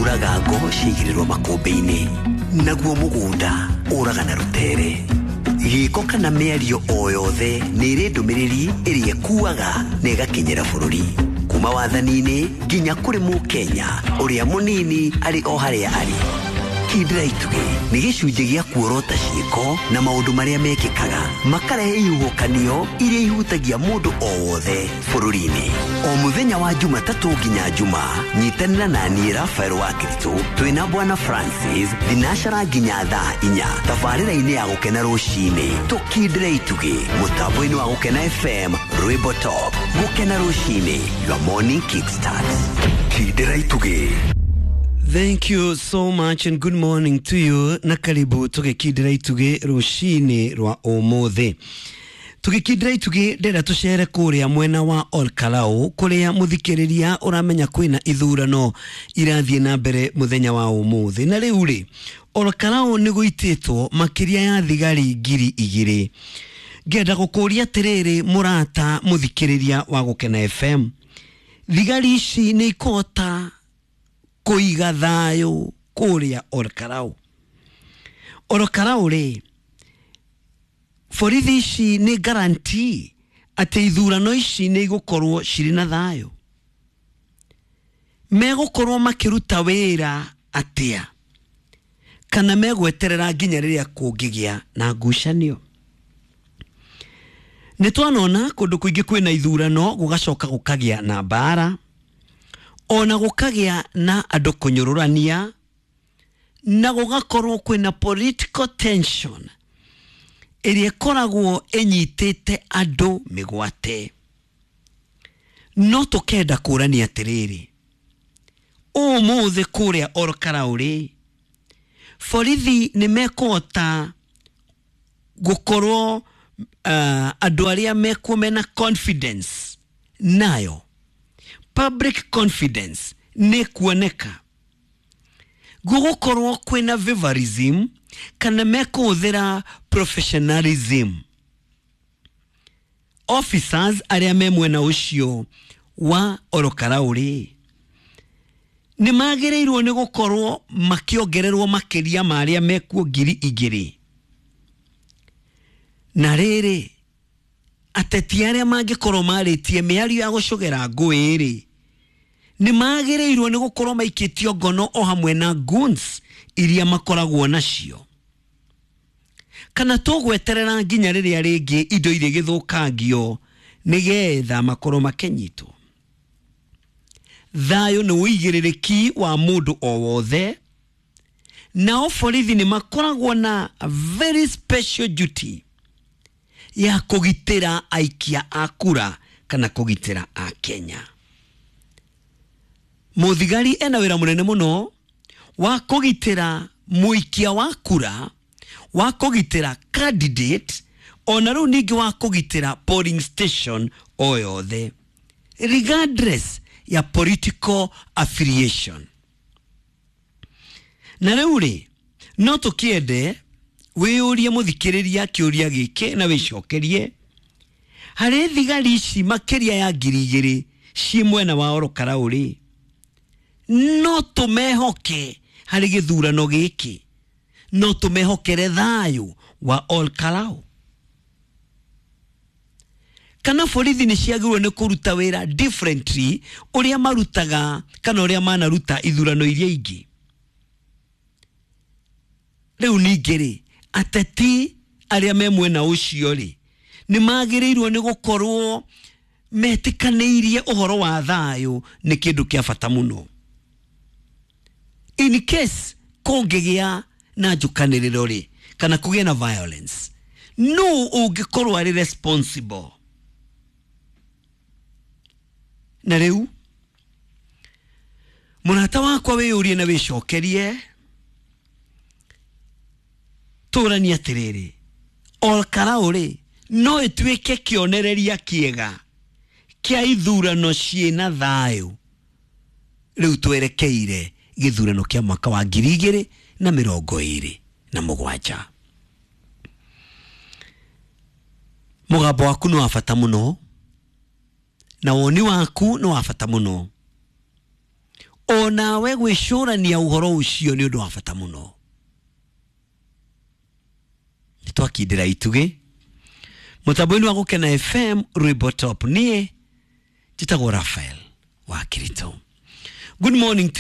Ũraga ngo ciaigĩrĩrwo makũmbĩ-inĩ, naguo mũgũnda ũraga na rũtere. Gĩko kana mĩario o yothe nĩ ĩrĩ ndũmĩrĩri ĩrĩa ĩkuaga na ĩgakinyĩra bũrũri, kuma wathani-inĩ nginya kũrĩ mũkenya ũrĩa mũnini arĩ o harĩa arĩ. Kindĩra itugĩ nĩ gĩcunjĩ gĩa kuorota ciĩko na maũndũ marĩa mekĩkaga makarehe ihuhũkanio iria ihutagia mũndũ o wothe bũrũri-inĩ. O mũthenya wa Jumatatũ nginya Juma, nyitanĩra na niĩ Rafael wa Kiritũ twĩna Bwana Francis thinacara nginya thaa 4 tabarĩra-inĩ ya Gũkena rũcinĩ. Tũkindĩre itugĩ mũtambo-inĩ wa Gũkena FM, Rwĩmbo Top. Gũkena rũcinĩ, your morning kickstart. Kindĩra itugĩ. Thank you so much and good morning to you, na karibu tugikindira itugi rucini rwa umuthi. Tugikindira itugi ndĩrenda tũcere kũrĩa mwena wa Olkalau, kũrĩa mũthikĩrĩria ũramenya kwĩna ithurano irathiĩ na mbere mũthenya wa ũmũthĩ. Na rĩu rĩ, Olkalau nĩ gũitĩtwo makĩria ya thigari 2000. Ngenda gũkũria atĩrĩrĩ, mũrata mũthikĩrĩria wa Gũkena FM, thigari ici nĩ ikũhota kũiga thayũ kũrĩa Olkalau? Olkalau rĩ, borithi ici nĩ guarantee atĩ ithurano ici nĩ igũkorwo cirĩ na thayũ? Megũkorwo makĩruta wĩra atĩa, kana megweterera nginya rĩrĩa kũngĩgĩa na ngucanio? Nĩ twanona kũndũ kũingĩ kwĩna ithurano gũgacoka gũkagĩa na mbara, ona gũkagĩa na andũ kũnyũrũrania, na gũgakorwo kwĩna political tension ĩrĩa ĩkoragwo ĩnyitĩte andũ mĩgwate. No tũkenda kũrania atĩrĩrĩ, ũmũthĩ kũrĩa Olkalau rĩ, borithi nĩ mekũhota gũkorwo andũ arĩa mekuo mena confidence nayo, public confidence nĩ kuoneka, gũgũkorwo kwĩna favorism kana mekũhũthĩra professionalism? Officers arĩa me mwena ũcio wa Olkalau rĩ, nĩ magĩrĩirwo nĩ gũkorwo makĩongererwo makĩria ma arĩa mekuo 2000? Na rĩrĩ, ateti arĩa mangĩkorwo marĩtie mĩario ya gũcogera ngũĩ rĩ, nĩ magĩrĩirwo nĩ gũkorwo maikĩtio ngono o hamwe na goons iria makoragwo nacio, kana tũgweterera nginya rĩrĩa rĩngĩ indo irĩgĩthũkangio nĩgetha makorwo makĩnyitwo? Thayũ nĩ ũigĩrĩrĩki wa mũndũ o wothe, nao borithi nĩ makoragwo na very special duty ya kũgitĩra aikia a kura kana kũgitĩra a Kenya. Mũthigari ena wĩra mũnene mũno wa kũgitĩra mũikia wa kura, wa kũgitĩra candidate, ona rĩu ningĩ wa kũgitĩra polling station o yothe regardless ya political affiliation. Na rĩu rĩ, no tũkĩende wĩyũrie mũthikĩrĩria kĩũria gĩkĩ na wĩcokerie: harĩ thigari ici makĩria ya 2000 ciĩ mwena wa Olkalau rĩ, no tũmehoke harĩ gĩthurano gĩkĩ? No tũmehokere thayũ wa Olkalau, kana borithi nĩ ciagĩrĩirwo nĩ kũruta wĩra differently ũrĩa marutaga kana ũrĩa manaruta ithurano iria ingĩ? Rĩu ningĩ rĩ, ateti arĩa me mwena ũcio rĩ, nĩ magĩrĩirwo nĩ gũkorwo metĩkanĩirie ũhoro wa thayũ nĩ kĩndũ kĩa bata mũno. In case kũngĩgĩa na njũkanĩrĩro rĩ, kana kũgĩe na violence, no ũngĩkorwo arĩ responsible? Na rĩu mũrata wakwa, wĩyũrie na wĩcokerie, tũranie atĩrĩrĩ, Olkalau rĩ, no ĩtuĩke kĩonereria kĩega kĩa ithurano ciĩna thayũ rĩu twerekeire gĩthurano kĩa mwaka wa 2027? Mũgambo waku nĩ wa bata mũno na woni waku nĩ wa bata mũno. O Onawe gwĩcũrania ũhoro ũcio nĩ ũndũ wa bata mũno. Nĩ twakindĩra itugĩ mũtambo-inĩ wa Gũkena FM, rwĩmbo top. Niĩ njĩtagwo Rafael wa Kirito. Good morning.